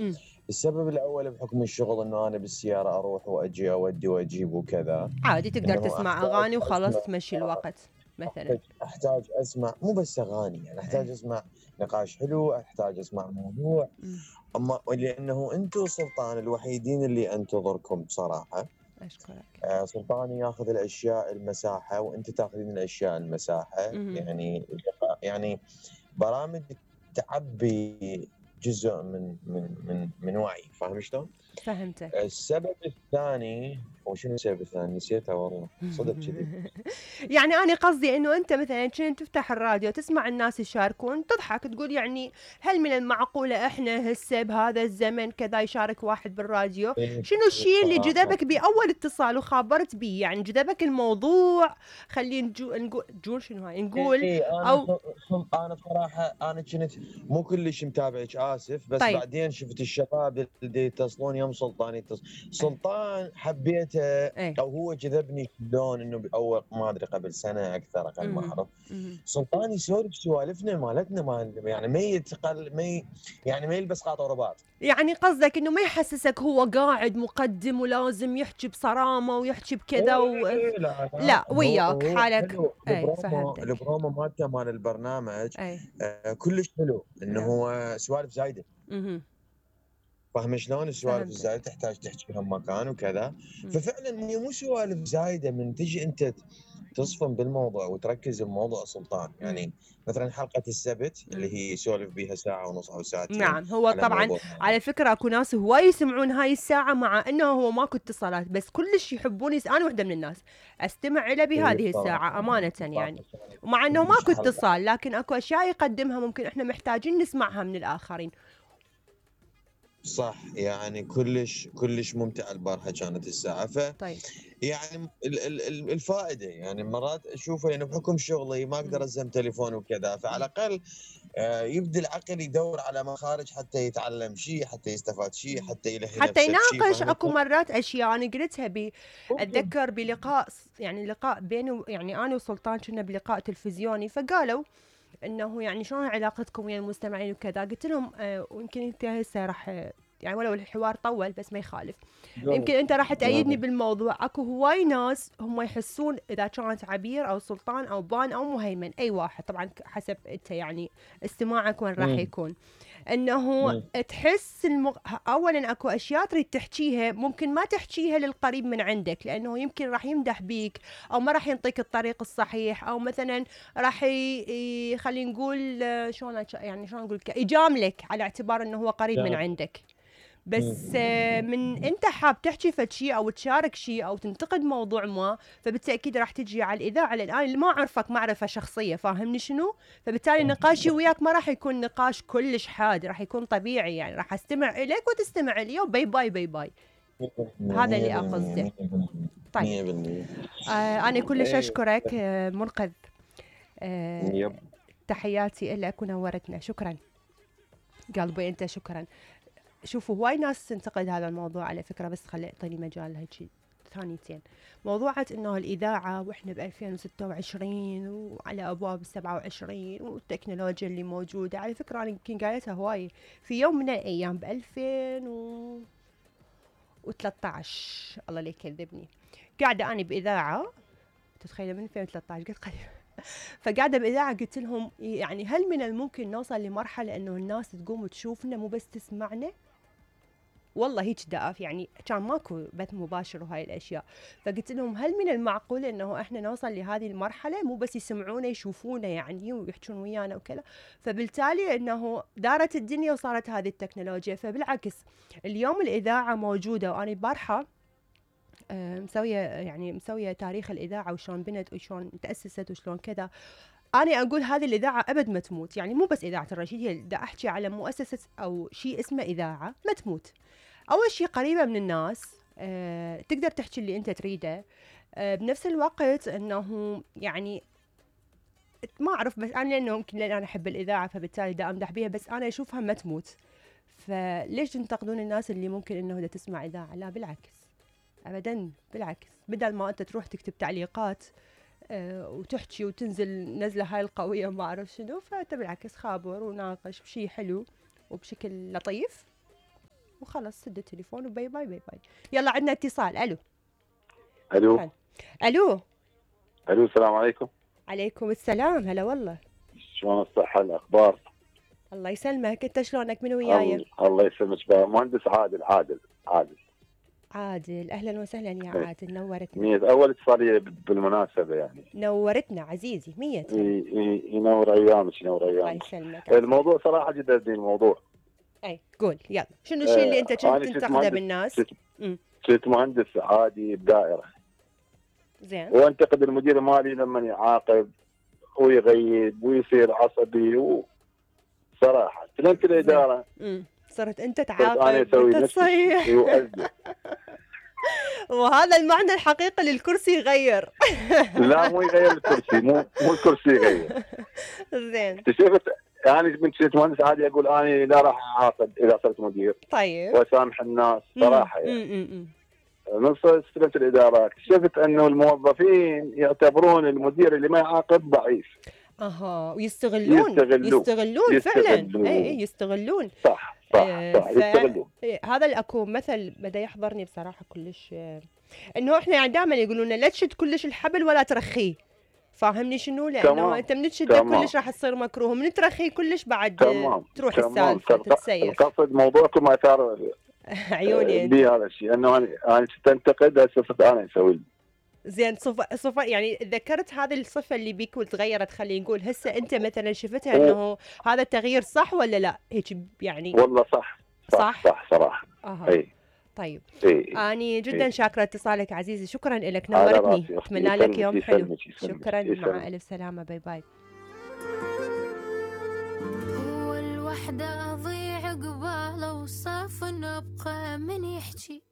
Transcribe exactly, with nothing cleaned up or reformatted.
م. السبب الاول بحكم الشغل انه انا بالسياره اروح واجي اودي واجيب وكذا، عادي تقدر تسمع اغاني وخلاص تمشي الوقت مثلا. احتاج اسمع مو بس اغاني، يعني احتاج ايه. اسمع نقاش حلو، احتاج اسمع موضوع. م. اما لانه انتم سلطان الوحيدين اللي انتظركم بصراحه. اشكرك. آه سلطان ياخذ الاشياء المساحه وانت تاخذين الاشياء المساحه، م. يعني يعني برامج تعبي جزء من من من من وعي، فاهم شلون؟ فهمتك. السبب الثاني، وشنو السبب الثاني؟ نسيته والله صدق كذي. يعني أنا قصدي إنه أنت مثلا كنت تفتح الراديو تسمع الناس يشاركون تضحك تقول يعني هل من المعقولة إحنا هسه بهذا الزمن كذا يشارك واحد بالراديو؟ شنو الشيء اللي جذبك بأول اتصال وخابرت بيه؟ يعني جذبك الموضوع، خلينا نجو نقول نقول شنو هاي نقول إيه انا أو ص- انا بصراحه انا كنت مو كلش متابعك، اسف، بس طيب. بعدين شفت الشباب اللي يتصلون يوم سلطان يتصل. سلطان حبيته ايه. او هو جذبني شلون انه باول ما ادري قبل سنه اكثر اقل ما مهم. اعرف، مهم. سلطان يسولف سوالفنا مالتنا مال يعني ما يتقل ما ي- يعني ما يلبس قاطع ورباط. يعني قصدك انه ما يحسسك هو قاعد مقدم ولازم يحكي بصرامة ويحكي بكذا و... إيه لا لا لا هو وياك هو حالك. حلو، اي البرومو فهمتك. البرومو مالته مال البرنامج اي. آه كلش حلو، انه نعم. هو سوالف زايده. اها. فاهم شلون؟ السوالف فهمتك. الزايده تحتاج تحكي بهم مكان وكذا. مم. ففعلا هي مو سوالف زايده، من تجي انت تصفن بالموضوع وتركز بموضوع سلطان. مم. يعني مثلا حلقه السبت مم. اللي هي يسولف بها ساعه ونص او ساعتين نعم هو على طبعا موضوع على معين. فكرة اكو ناس هواي يسمعون هاي الساعة مع انه هو ماكو اتصالات بس كلش يحبون يس... انا وحدة من الناس استمع له هي بهذه الساعة بصراحه امانة بصراحة يعني. ومع انه كلش ماكو حلقه اتصال لكن اكو اشياء يقدمها ممكن احنا محتاجين نسمعها من الاخرين. صح، يعني كلش كلش ممتعه البارحه كانت الساعه. ف طيب. يعني ال- ال- ال- الفائده يعني مرات اشوفها، يعني بحكم شغلي ما اقدر مم. ازم تليفون وكذا، فعلى مم. الاقل آه، يبدا العقل يدور على مخارج حتى يتعلم شيء، حتى يستفاد شيء، مم. حتى يلهي حتى نفسه بشيء، يناقش اكو فاهمة؟ مرات اشياء انا قلتها ب ممكن. اتذكر بلقاء يعني لقاء بيني و- يعني انا وسلطان كنا بلقاء تلفزيوني فقالوا انه يعني شلون علاقتكم ويا المستمعين وكذا قلت لهم آه ويمكن انت هسه راح يعني ولو الحوار طول بس ما يخالف يمكن انت راح تأيدني بالموضوع اكو هواي ناس هم يحسون اذا كانت عبير او سلطان او بان او مهيمن اي واحد طبعا حسب انت يعني استماعك وين راح مم. يكون انه مم. تحس المغ... اولا اكو اشياء تريد تحكيها ممكن ما تحكيها للقريب من عندك لانه يمكن راح يمدح بيك او ما راح ينطيك الطريق الصحيح او مثلا راح ي... ي... خلينا نقول آه، شلون أش- يعني شلون نقول لك يجاملك على اعتبار انه هو قريب من لا. عندك. بس آه، من انت حاب تحكي فد شيء او تشارك شيء او تنتقد موضوع ما فبالتاكيد راح تجي على الاذاعه لان انا ما اعرفك معرفه شخصيه فاهمني شنو فبالتالي نقاشي وياك ما راح يكون نقاش كلش حاد راح يكون طبيعي يعني راح استمع اليك وتستمع لي وباي باي باي باي. هذا اللي اقصده. طيب. مية بالمية. آه انا كلش ايه. اشكرك آه منقذ. آه يب. تحياتي لك ونورتنا شكرا قلبي انت شكرا. شوفوا هواي ناس تنتقد هذا الموضوع على فكرة بس خلي اعطيني مجال هيك ثانيتين. موضوعة انه الاذاعة واحنا ب ألفين وستة وعشرين وعلى ابواب سبعة وعشرين والتكنولوجيا اللي موجودة على فكرة انا يمكن قايلتها هواي في يوم من الايام ب ألفين وثلاثة عشر الله لا يكذبني قاعدة انا باذاعة تتخيل من ألفين وثلاثة عشر قلت قريب فقاعدة بإذاعة قلت لهم يعني هل من الممكن نوصل لمرحلة إنه الناس تقوم وتشوفنا مو بس تسمعنا؟ والله هيك دقف يعني كان ماكو بث مباشر وهاي الأشياء فقلت لهم هل من المعقول إنه إحنا نوصل لهذه المرحلة مو بس يسمعونا يشوفونا يعني ويحجون ويانا وكذا فبالتالي إنه دارت الدنيا وصارت هذه التكنولوجيا فبالعكس اليوم الإذاعة موجودة وأنا بارحة آه، مسوية يعني مسوية تاريخ الإذاعة وشلون بنت وشلون تأسست وشلون كذا. أنا أقول هذه الإذاعة أبد ما تموت يعني مو بس إذاعة الرشيد هي دا أحكي على مؤسسة أو شيء اسمه إذاعة ما تموت. أول شيء قريبة من الناس أه تقدر تحكي اللي أنت تريده أه بنفس الوقت أنه يعني ما أعرف بس أنا لأنه يمكن لأن أنا أحب الإذاعة فبالتالي دا أمدح بيها بس أنا أشوفها ما تموت. فليش تنتقدون الناس اللي ممكن أنه دا تسمع إذاعة؟ لا بالعكس ابدا بالعكس بدل ما انت تروح تكتب تعليقات أه وتحكي وتنزل نزله هاي القويه ما اعرف شنو فانت بالعكس خابر وناقش بشيء حلو وبشكل لطيف وخلص سد التليفون وباي باي باي باي. يلا عندنا اتصال. الو الو الو الو السلام عليكم. عليكم السلام. هلا والله. شلون الصحة الأخبار؟ الله يسلمك. انت شلونك؟ من وياي؟ الله, الله يسلمك. مهندس عادل عادل عادل عادل. اهلا وسهلا يا إيه. عادل، نورتنا. مية اول اتصالية بالمناسبة يعني. نورتنا عزيزي. مية ي- ي- ينور ايامك ينور الله ايامك. يسلمك. الموضوع صراحة جدا زين الموضوع. اي قول يلا، شنو الشيء اللي انت كنت أنا كنت تنتقده مهندس- بالناس؟ كنت- مم. كنت مهندس عادي بدائرة، زين. وانتقد المدير المالي لما يعاقب ويغيب ويصير عصبي و... صراحة تلمت الإدارة. امم صرت انت صرت أنا تعاقب أسوي انت نفس تصيح. الشيء وأزيد. وهذا المعنى الحقيقي للكرسي يغير. لا مو يغير الكرسي، مو مو الكرسي يغير. زين. اكتشفت يعني من كنت مهندس عادي اقول انا لا راح اعاقب اذا صرت مدير طيب. واسامح الناس صراحه يعني. مم، مم، من صرت استلمت الاداره اكتشفت انه الموظفين يعتبرون المدير اللي ما يعاقب ضعيف. اها ويستغلون يستغلون. يستغلون فعلا. يستغلون. اي اي يستغلون. صح صح آه، صح ف- يستغلون. إيه، هذا الاكو مثل بدا يحضرني بصراحه كلش، آه، انه احنا يعني دائما يقولون لنا لا تشد كلش الحبل ولا ترخيه. فاهمني شنو؟ لانه تمام. انت من تشده تمام. كلش راح تصير مكروه، من ترخيه كلش بعد آه، تمام تروح تمام. السالفه تتسيف. القصد موضوعكم اثار عيوني انت. بي هذا الشيء انه انا انا تنتقد هسه صرت انا اسوي. زين. صفة صفة يعني ذكرت هذه الصفة اللي بيك وتغيرت، خلينا نقول هسه انت مثلا شفتها انه هذا التغيير صح ولا لا؟ هيك يعني. والله صح صح صح؟ صح صراحه. اها. اي طيب. اي اني جدا إيه. شاكرة اتصالك عزيزي، شكرا لك، على نورتني. راسي أختي. اتمنى لك يسلمك- يوم حلو. يسلمك- يسلمك- شكرا. يسلمك. مع الف سلامة. باي باي. هو الوحدة أضيع قباله وصاف نبقى من يحكي